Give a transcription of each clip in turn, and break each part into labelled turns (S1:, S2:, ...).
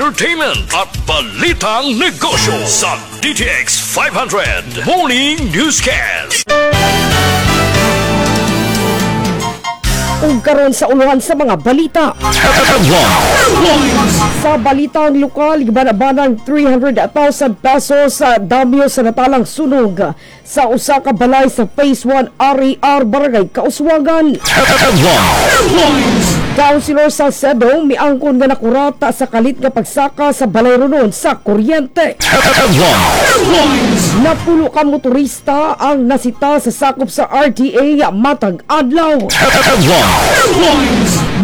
S1: Entertainment at balitang negosyo sa DTX 500 Morning Newscast.
S2: Ug karon sa uluhan sa mga balita. Sa balitang lokal, gibanabanang 300,000 pesos sa damyo sa natalang sunog sa usa ka balay sa Phase 1 RER Barangay Kauswagan. Councilor Salcedo miangkon nga nakurata sa kalit nga pagsaka sa balay ronon sa kuryente. Napulo ka motorista ang nasita sa sakop sa RTA matag adlaw.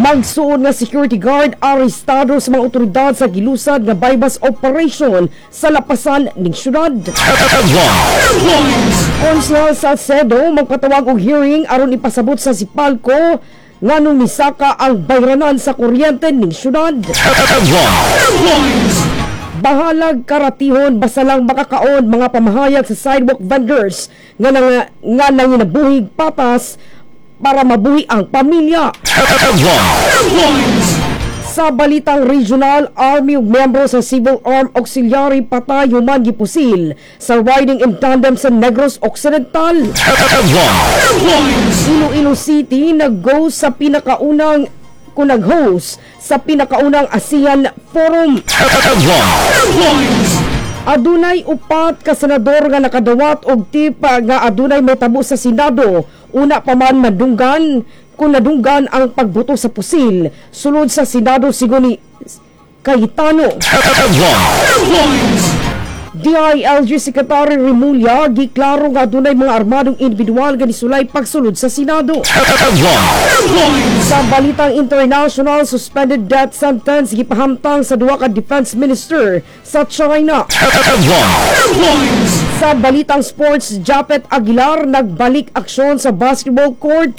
S2: Magsuon nga security guard arestado sa mga otoridad sa gilusad nga bypass operation sa lapasan ning syudad. Konsehal Salcedo magpatawag og hearing aron ipasabot sa Sipalco nganong misaka ang bayranan sa kuryente ning syudad. Bahalag karatihon basta lang makakaon mga pamahayag sa sidewalk vendors nga nanginabuhig patas para mabuhi ang pamilya. Sa balitang regional, Army ug miyembro sa Civil Armed Auxiliary patay human gipusil sa riding in tandem sa Negros Occidental. Iloilo City nag-go sa pinakaunang kung nag-host sa pinakaunang ASEAN Forum. Adunay upat ka senador nga nakadawat og tip nga adunay mahitabo sa Senado una pa man madunggan kung nadunggan ang pagbuto sa pusil sulod sa Senado, sigon ni Cayetano. DILG Secretary Remulla giklaro nga adunay mga armadong individual nga nisulay pagsulod sa Senado. Sa balitang international, suspended death sentence gipahamtang sa duha ka defense minister sa China. Sa balitang sports, Japeth Aguilar nagbalik aksyon sa basketball court.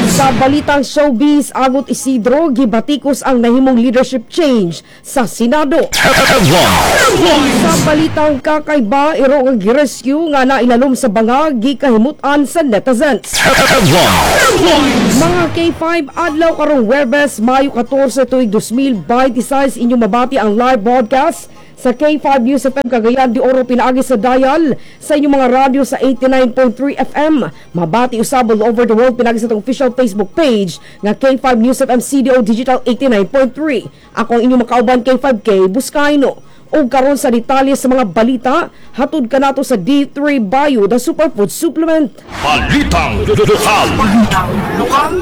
S2: Sa balitang showbiz, Agot Isidro gibatikos ang nahimong leadership change sa Senado. Sa balitang kakaiba, iro nga girescue nga nailalom sa banga gikahimutan sa netizens. Mga K5, adlaw karong Huwebes, Mayo 14, tuig 2026, inyong mabati ang live broadcast sa K5 News FM Cagayan de Oro pinaagi sa dial sa inyong mga radyo sa 89.3 FM. Mabati usab all over the world pinaagi sa atong official Facebook page nga K5 News FM CDO Digital 89.3. Ako ang inyong makauban, K5K Buscayno. Ug karon sa detalye sa mga balita, hatod kanato sa D3 Bio, the superfood supplement.
S1: Balitang Lokal.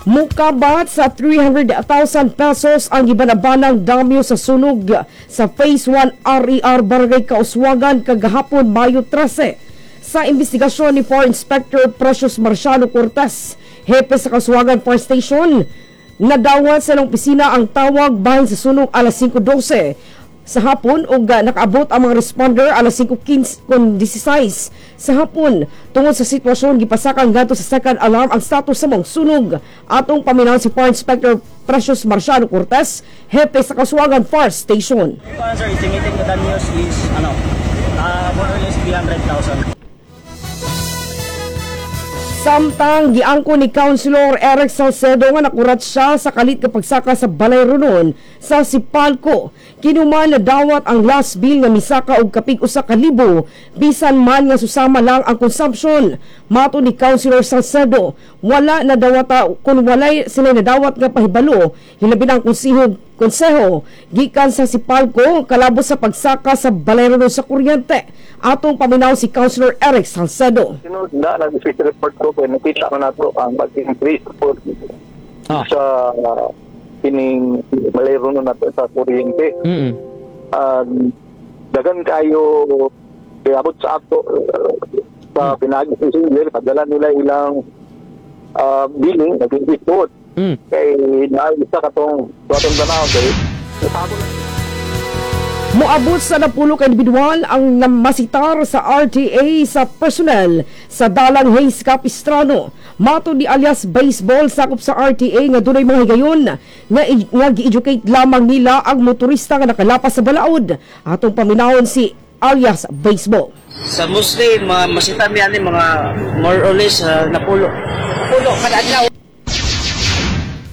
S2: Mukabat sa 300,000 pesos ang gibanabanang damyo sa sunog sa Phase 1 RER Barangay Kauswagan kagahapon, Mayo 13. Sa investigasyon ni Fire Inspector Precious Marciano Cortez, hepe sa Kauswagan Fire Station, nadawat sa ilang opisina ang tawag bahin sa sunog alas 5:12 sa hapon ug nakaabot ang mga responder alas 5:15 kon 16 sa hapon. Tungod sa sitwasyon, gipasakan ngadto sa second alarm ang status sa maong sunog. Atong paminaw si Fire Inspector Precious Marciano Cortez, hepe sa Kauswagan Fire Station.
S3: Ito, sir, estimated na damages is more or less 300,000.
S2: Samtang giangko ni Councilor Eric Salcedo nga nakurat siya sa kalit nga pagsaka sa Balay Ronon sa Sipalco. Kinuman nadawat ang last bill nga misaka og kapig 1,000 bisan man nga susama lang ang consumption. Mato ni Councilor Salcedo, wala nadawata kung walay sila nadawat nga pahibalo, hilabi ang konseho gikan sa Sipalco kalabot sa pagsaka sa Balay Ronon sa kuryente. Atong paminaw si Councilor Eric Salcedo.
S4: Sinod na nag-official report ko kay nakita man nato ang pag-increase po sa kining balay ronon nato sa kuryente. Dagan kayo abot sa ato sa pinaagi sa Silver, padala nila ilang billing, nag-increase po. Kay naa isa katong atong tanaw kay
S2: Moabot sa 10 ka individual ang masitar sa RTA sa personnel sa Dalang Hayes Capistrano. Mato ni alias Baseball, sakop sa RTA, nga dunay mga higayon nga gi-educate lamang nila ang motorista nga nakalapas sa balaod. Atong paminawon si alias Baseball.
S3: Sa mostly, mga masita mi ani mga more or less 10.
S5: Pulo kada adlaw.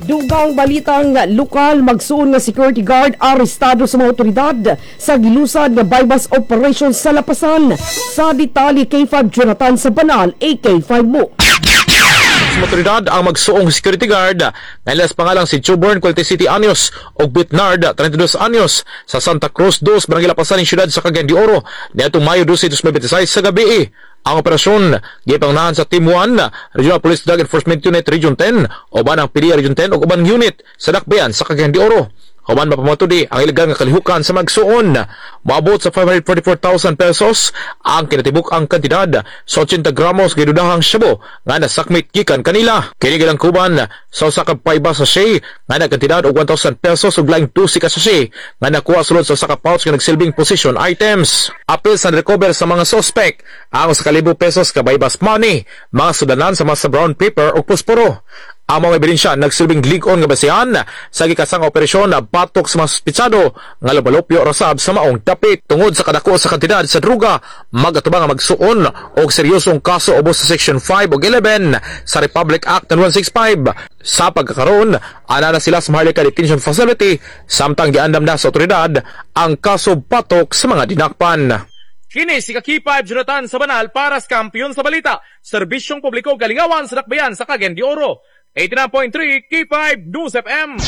S2: Dugang balitang lokal, magsuon nga security guard arestado sa mga otoridad sa gilusad nga bypass operation sa Lapasan. Sa detalye, K5 Jonathan sa Banal, AK5 mo.
S5: Sa otoridad ang magsuong security guard nga ilas pangalang si Chuborn Quality City Anyos ug Bitnard 32 anyos sa Santa Cruz 2, Barangay Lapasan, siyudad sa Cagayan de Oro niadtong Mayo 12, 2026 sa gabi. Ang operasyon gipangunahan sa Team 1 Regional Police Drug Enforcement Unit Region 10 uban ang PDEA Region 10 ug uban unit sa dakbayan sa Cagayan de Oro. Human mapamatudi ang ilegal nga kalihukan sa magsuon. Moabot sa 544,000 pesos ang kinatibuk ang kantidad sa 80 gramos gidudahang shabu nga nasakmit gikan kanila. Kini gilangkuban sa usa ka payba sachet nga nagkantidad og 1,000 pesos ug laing 12 ka sachet nga nakuha sulod sa usa ka pouch nga nagsilbing possession items. Apil sa recover sa mga suspect ang 1,000 pesos ka buy-bust money, mga sudanan sama sa brown paper ug posporo. Ang mga ebidensya nagsilbing lig-on nga basehan sa gikasang operasyon na batok sa mga suspitsado nga lubalopyo rasab sa maong dapit. Tungod sa kadako sa kantidad sa druga, magatubang ang magsuon og seryosong kaso ubos sa Section 5 ug 11 sa Republic Act 9165. Sa pagkakaroon, ana na sila sa Maharlika Detention Facility samtang giandam na sa otoridad ang kaso batok sa mga dinakpan. Kini si K5 Jonathan sa Banal para sa Kampiyon sa Balita. Serbisyong publiko galingawan sa dakbayan sa Cagayan de Oro. 89.3 K5 News FM.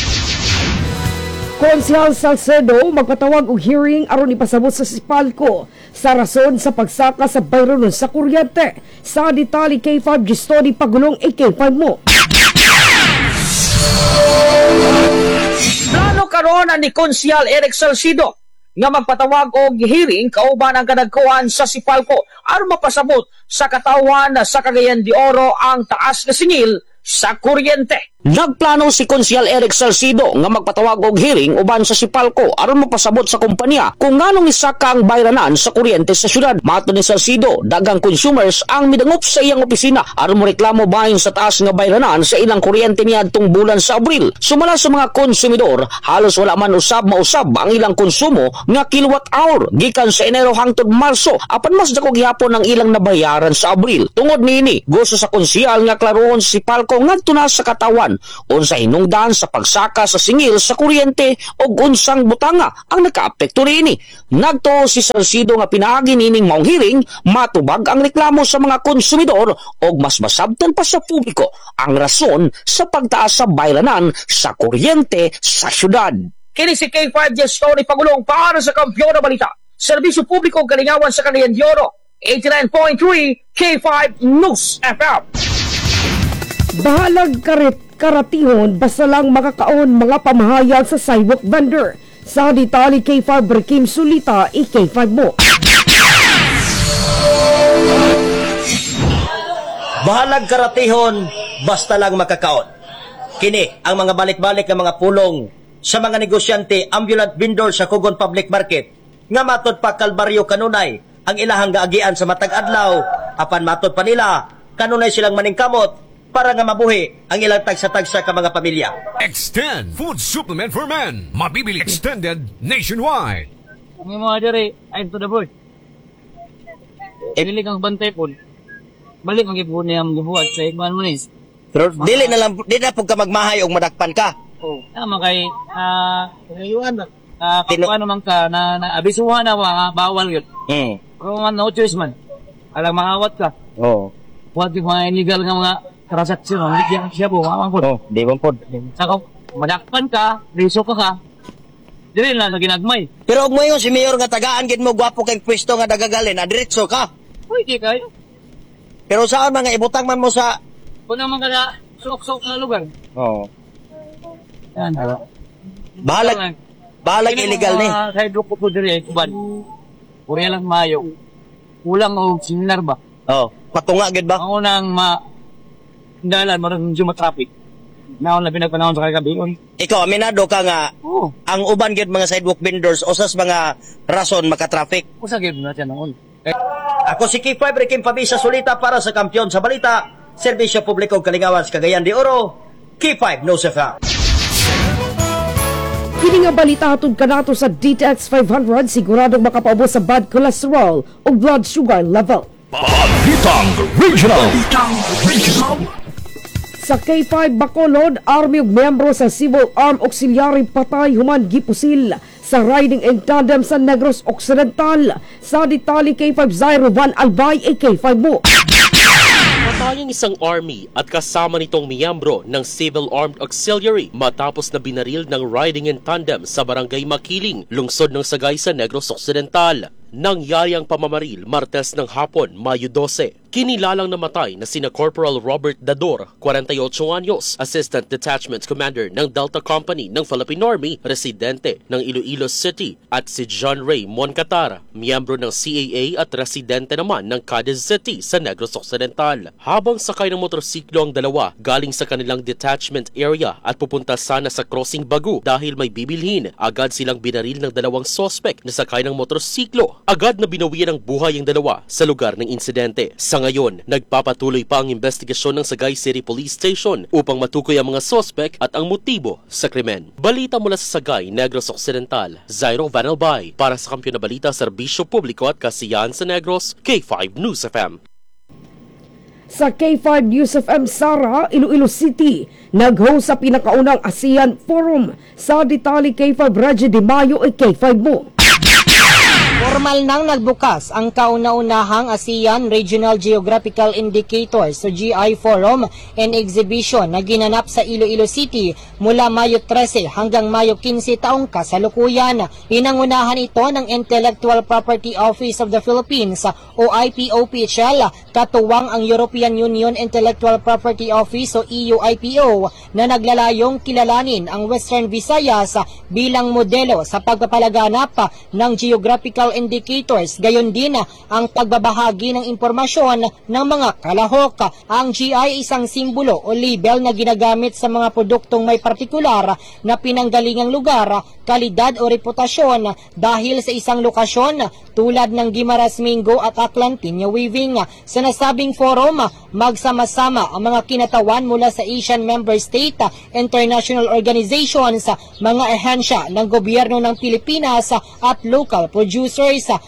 S2: Konsehal Salcedo magpatawag og hearing aron ipasabot sa Sipalco sa rason sa pagsaka sa bayronon sa kuryente. Sa detalye, K5 Gistoni Pagulong, AK5 mo.
S6: Plano karon ni Konsehal Eric Salcido nga magpatawag og hearing kauban ang kadagkuan sa Sipalco aron mapasabot sa katawhan sa Cagayan de Oro ang taas nga singil sa kuryente. Nagplano si Konsehal Eric Salcido nga magpatawag og hearing uban sa Sipalco aron mapasabot sa kumpanya kung nganong isaka ang bayranan sa kuryente sa syudad. Matod ni Salcido, daghang consumers ang midangop sa iyang opisina aron moreklamo bahin sa taas nga bayranan sa ilang kuryente niadtong bulan sa Abril. Sumala sa mga konsumidor, halos wala man usab mausab ang ilang konsumo nga kilowatt hour gikan sa Enero hangtod Marso, apan mas dako gihapon ang ilang nabayaran sa Abril. Tungod niini, gusto sa konsehal nga klarohon si Sipalco ngadto na sa katawan unsa hinungdan sa pagsaka sa singil sa kuryente o unsang butanga ang nakaapekto niini. Nagtuo si Salcido nga pinaagi nining maong hearing matubag ang reklamo sa mga konsumidor og mas masabtan pa sa publiko ang rason sa pagtaas sa bayranan sa kuryente sa syudad. Kini si K5 Story Pagulong para sa Kampiyon na Balita. Serbisyo publiko galingawan sa Cagayan de Oro. 89.3 K5 News FM.
S2: Bahalag karatihon basta lang makakaon mga pamahayag sa sidewalk vendor. Sa detalye, K5 Berkim Sulita, AK5 mo.
S7: Bahalag karatihon basta lang makakaon. Kini ang mga balik-balik nga mga pulong sa mga negosyante ambulant vendor sa Cogon Public Market nga matod pa kalbaryo kanunay ang ilahang gaagian sa matag adlaw, apan matod pa nila kanunay silang maningkamot para nga mabuhi ang ilang tagsa-tagsa ka mga pamilya.
S8: Extend Food Supplement for Men. Mabibili extended nationwide.
S9: Ang mga diri, I'm to the board. Dili kang bantay po. Balik ang gibuhat niya ang gibuhat sa ikman mo nis.
S7: Pero dili na lang, dili na po ka magmahay og madakpan ka.
S9: Oh, tama kay kakuha naman ka na abisuhan na bawal yun. Pero man, no choice man. Alang maawat ka.
S7: Oo.
S9: Huwag yung mga illegal nga mga transaksyon, hindi siya po, mamang po.
S7: Oh, di ba po?
S9: Saka, madakpan ka, riso ka. Dili lang sa ginagmay.
S7: Pero og moingon si Mayor nga tagaan gid mo gwapo kay pwesto nga dagagalin, adiretso ka.
S9: Pwede kayo.
S7: Pero saan mga ibutang man mo sa
S9: kung naman ka na suok-suok na lugar.
S7: Oo.
S9: Yan.
S7: Bahalag, bahalag illegal ni.
S9: Sidewalk ko po diri ay kuban. Puriya lang mayo. Kulang og similar ba?
S7: Oo. Patunga gid ba?
S9: Ang unang dalan marang medyo matraffic. Naon labi nagpanahon sa kagabi.
S7: Ikaw aminado ka nga
S9: Oo.
S7: Ang uban gid mga sidewalk vendors usas mga rason maka-traffic.
S9: Usa gid na siya noon.
S7: Ako si K5 Rikim Pabisa Sulita para sa Kampiyon sa Balita, Serbisyo Publiko Kalingawan sa Cagayan de Oro, K5 News FM.
S2: Kini nga balita hatod kanato sa DTX 500, siguradong makapaubos sa bad cholesterol o blood sugar level.
S1: Balitang Regional. Balitang Regional.
S2: Sa K5 Bacolod, Army ug miyembro sa Civil Armed Auxiliary patay human gipusil sa riding in tandem sa Negros Occidental. Sa detalye, K5 Zairo Van Albay, K5 mo.
S10: Patay ang isang army at kasama nitong miyembro ng Civil Armed Auxiliary matapos na binaril ng riding in tandem sa Barangay Makiling, lungsod ng Sagay sa Negros Occidental. Nangyari ang pamamaril Martes ng hapon, Mayo 12. Kinilalang namatay na sina Corporal Robert Dador, 48 anyos, Assistant Detachment Commander ng Delta Company ng Philippine Army, residente ng Iloilo City, at si John Ray Moncatar, miyembro ng CAA at residente naman ng Cadiz City sa Negros Occidental. Habang sakay ng motorsiklo ang dalawa galing sa kanilang detachment area at pupunta sana sa Crossing Bagu dahil may bibilhin, agad silang binaril ng dalawang sospek na sakay ng motorsiklo. Agad na binawian ng buhay ang dalawa sa lugar ng insidente. Sa ngayon, nagpapatuloy pa ang investigasyon ng Sagay City Police Station upang matukoy ang mga sospek at ang motibo sa krimen. Balita mula sa Sagay, Negros Occidental, Zairo Vanelbay, para sa Kampiyon na Balita, Serbisyo Publiko at Kasiyahan sa Negros, K5 News FM.
S2: Sa K5 News FM Sara, Iloilo City, nag-host sa pinakaunang ASEAN Forum. Sa detalye, K5 Reggie Di Mayo, K5 mo.
S11: Formal nang nagbukas ang kauna-unahang ASEAN Regional Geographical Indicators o GI Forum and Exhibition na ginanap sa Iloilo City mula Mayo 13 hanggang Mayo 15 taong kasalukuyan. Pinangunahan ito ng Intellectual Property Office of the Philippines o IPOPHL, katuwang ang European Union Intellectual Property Office o EUIPO, na naglalayong kilalanin ang Western Visayas bilang modelo sa pagpapalaganap ng geographical indicators, gayon din ang pagbabahagi ng impormasyon ng mga kalahok. Ang GI ay isang simbolo o label na ginagamit sa mga produktong may partikular na pinanggalingang lugar, kalidad o reputasyon dahil sa isang lokasyon tulad ng Guimaras Mango at Aklan Pinya Weaving. Sa nasabing forum, magsama-sama ang mga kinatawan mula sa Asian Member State, international organizations, mga ahensya ng gobyerno ng Pilipinas at local producers.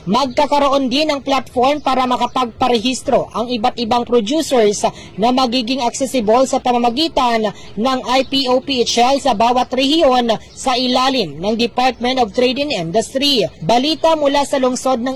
S11: Magkakaroon din ng platform para makapagparehistro ang iba't ibang producers na magiging accessible sa pamamagitan ng IPOPHL sa bawat rehiyon sa ilalim ng Department of Trade and Industry. Balita mula sa lungsod ng